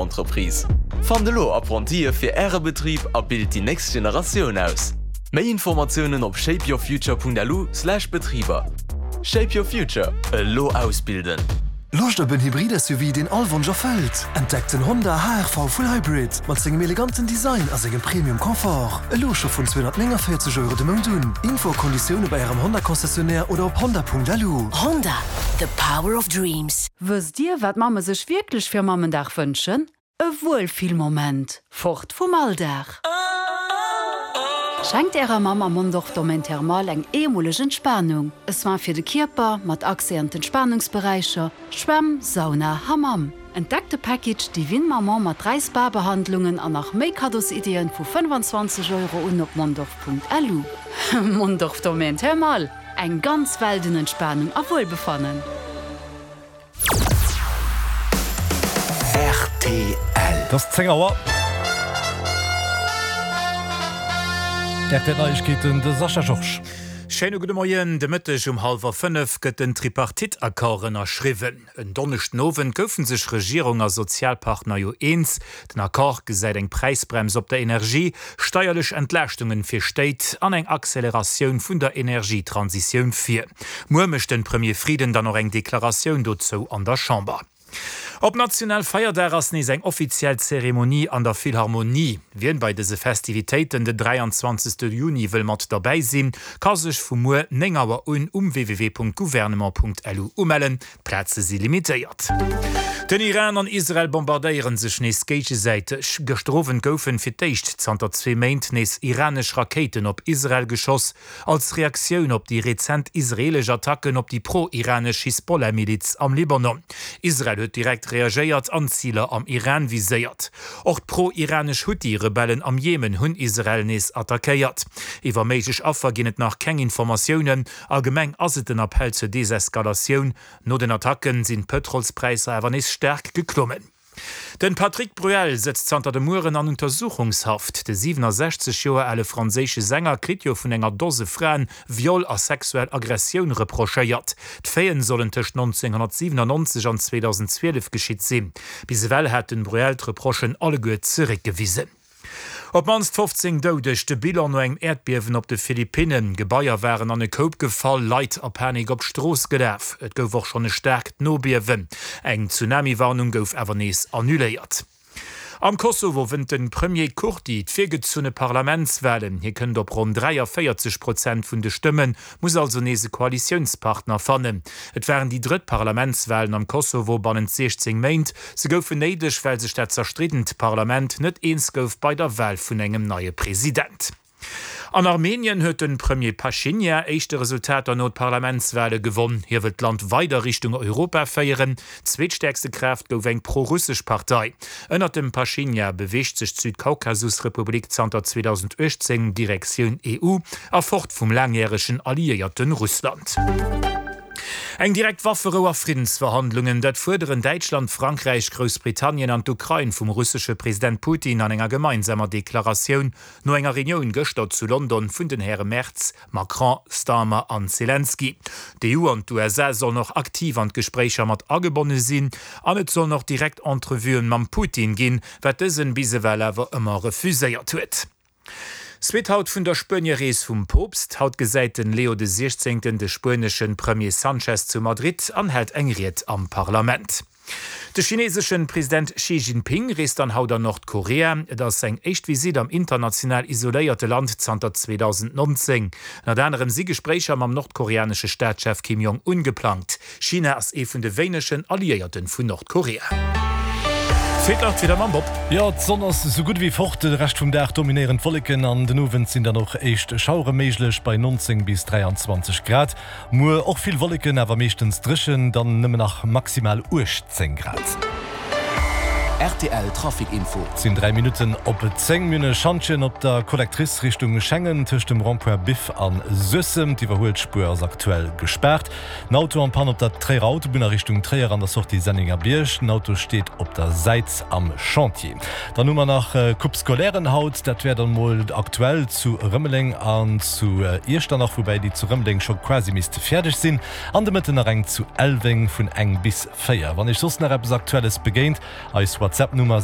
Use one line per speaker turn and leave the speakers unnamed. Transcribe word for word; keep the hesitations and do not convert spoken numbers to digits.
Entreprise. Fannt elo Apprentie fir Äre Betrib a bilt déi nächst Generatioun aus. Méi Informatiounen op shapeyourfuture.lu slash Betriber. Shape your future, elo ausbilden!
Loscht op en Hybrid-S U V, deen all Wonsch erfëllt? Entdeckt den Honda H R V Full Hybrid mat sengem eleganten Design a sengem Premium Confort. Elo scho vun zweehonnertnénganvéierzeg Euro de Mount un. Info a Konditioune bei Ärem Honda-Concessionnaire oder op honda Punkt L U.
Honda, the power of dreams.
Wësst Dir, wat Mamme sech wierklech fir Mammendag wënschen? E Wuelfillmoment, fort vum Alldag. Schenkt Ärer Mamm am Mondorf Domaine Thermal eng eemoleg Entspanung. E Soin fir de Kierper mat Accès an d'Entspanungsberäicher, Schwämm, Sauna, Hammam. Entdeckt de Package Divine Maman mat dräi Spa-Behandlungen an nach méi Kaddosiddien vu fënnefanzwanzeg Euro un op mondorf Punkt L U. Mondorf Domaine Thermal, eng ganz Welt un Entspanung a Wuelbefannen.
R T L.
Et ass zéng Auer. R T L Neiegkeeten, de Sascha Georges.
Schéine gudde Moien. De Mëtteg um hallwer fënnef gëtt den Tripartite-Accord ënnerschriwwen. En Donneschden Owend goufe sech Regierung a Sozialpartner jo eens. Den Accord gesäit eng Präisbrems op der Energie, steierlech Entlaaschtungen fir Stéit an eng Acceleratioun vun der Energietransitioun vir. Muer mécht de Premier Frieden dann och eng Deklaratioun dozou an der Chamber. Op Nationalfeierdag ass nees eng offiziell Zeremonie an der Philharmonie. Wien bei dëse Festivitéiten den dräianzwanzegste Juni wëll mat derbäi sinn, ka sech vu muer néng Auer un um W W W Punkt gouvernement Punkt L U umellen. D'Plaze si limitéiert. Den Iran an Israel bombardéiere sech nees géigesäiteg. Gëschter Owend goufen fir d'éischt zanter zwee Méint nees iranesch Rakéiten op Israel geschoss, als Reaktioun op déi rezent israeelesch Attacken op déi pro-iranesch Hisbollah-Miliz am Libanon. Israel huet direkt reagéiert an Ziler am Iran viséiert. Och d'pro-iranesch Huthi-Rebellen am Jemen hunn Israel nees attackéiert. Iwwer méiglech Affer ginn et nach keng Informatiounen. Allgemeng ass et den Appell zur Deseskalatioun. No den Attacken sinn d'Pëtrolspräisser awer nees staark geklommen. Den Patrick Bruel sëtzt zanter de Mueren an Untersuchungshaft. De siwenasechzeg Joer ale franséische Sänger kritt jo vun enger Dose Fraen Viol a sexuell Aggressioun reprochéiert. D'Faiten sollen tëscht nonzénghonnertsiwenannonzeg an zweedausendzwielef geschitt sinn. Bis ewell hat den Bruel d'Reprochen alleguer zeréckgewisen. Op d'mannst fofzéng Doudeg, de Bilan no engem Äerdbiewen op de Philippinnen. Gebaier waren an e Koup gefall, Leit a Panik op d'Strooss gelaf. Et gouf och schonn e staarkt Nobiewen. Eng Tsunami-Warnung gouf awer nees annuléiert. Am Kosovo wënnt de Premier Kurti d'virgezunne Parlamentswalen. Hie kënnt op ronn dräiavéierzeg Prozent vun de Stëmmen, muss also nees e Koalitiounspartner fannen. Et waren déi drëtt Parlamentswalen am Kosovo bannent siechzéng Méint. Se goufen néideg, well sech dat zerstriddent Parlament net eens gouf bei der Wal vun engem neie President. An Armenien huet de Premier Pashinyan éischte Resultater no d'Parlamentswale gewonn. Hie wëllt d'Land weider Richtung Europa féieren. Zweetstäerkste Kraaft gouf eng pro-russesch Partei. Ënnert dem Pashinyan beweegt sech d'Südkaukasusrepublik zanter zweedausenduechtzéng Direktioun E U a fort vum laangjäregen Alliéierte Russland. Eng direkt Wafferou a Friddensverhandlungen, dat fuerderen Däitschland, Frankräich, Groussbritannien an d'Ukrain vum russesche President Putin an enger gemeinsamer Deklaratioun no enger Reunioun gëschter zu London vun den Häre Merz, Macron, Starmer an Zelensky. D'E U an d'U S A sollen och aktiv an d'Gespréicher mat agebonne sinn an et sollen och direkt Entrevuen mam Putin ginn, wat dësen bis ewell awer ëmmer refuséiert huet. Suite haut vun der Spuenierees vum Poopst. Haut gesäit den Leo de Siechzéngten de spuenesche Premier Sanchez zu Madrid an hält eng Ried am Parlament. De chineeseschen President Xi Jinping reest dann haut an Nordkorea. Et ass seng éischt Visitt am international isoléierte Land zanter zweedausendnonzéng. Ënnert anerem si Gespréicher mam nordkoreanesche Staatschef Kim Jong-un geplangt. China ass ee vun de wéinegen Alliéierten vun Nordkorea. Feelt nach d'Wieder mam Bob.
Jo, d'Sonn ass esou gutt ewéi fort. De Rescht vum Dag dominéieren d'Wolleken an den Owend sinn dann och éischt Schauere méiglech bei neunzéng bis dräianzwanzeg Grad. Muer och vill Wolleken, awer meeschtens dréchen, dann nëmmen nach maximal uechtzéng Grad.
R T L Trafic Info.
Et sinn dräi Minutten op zéng. Mir hunn e Schantjen op der Collectrice Richtung Schengen tëscht dem Rond-point Biff a Suessem. D'Iwwerhuelspuer ass aktuell gespaart. En Auto en panne op der Tréierer Autobunn a Richtung Tréier an der Sortie Sennengerbierg. Den Auto steet op der Säit am Chantier. Dann hu mer nach Coupe Scolairen haut. Dat wär dann mol aktuell zu Rëmeleng an zu Iechternach, woubäi déi zu Rëmeleng scho quasi misst fäerdeg sinn. An de Mëtten nach eng zu Elweng vun eng bis véier. Wann iech soss nach eppes Aktuelles begéint, eis iwwer d'Zep Nummer